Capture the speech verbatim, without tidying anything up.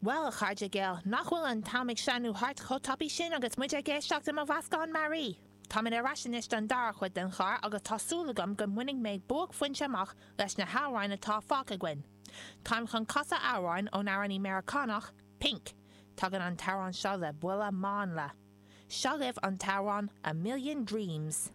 Bhuel, a chairde geal, nach bhfuil an t-am ag sleamhnú thart chomh tapaidh sin agus muid ag éisteacht le mo mheascán mearaí. Táimid ar ais anois don dara chuid den chlár agus tá súil agam go mbainfidh mé buaicphointe amach leis na hamhráin atá fágtha againn. Táim chun casadh amhráin ón amhránaí Meiriceánach, Pink. Tagann an t-amhrán seo le buille mánla. Seo libh an t-amhrán A Million Dreams.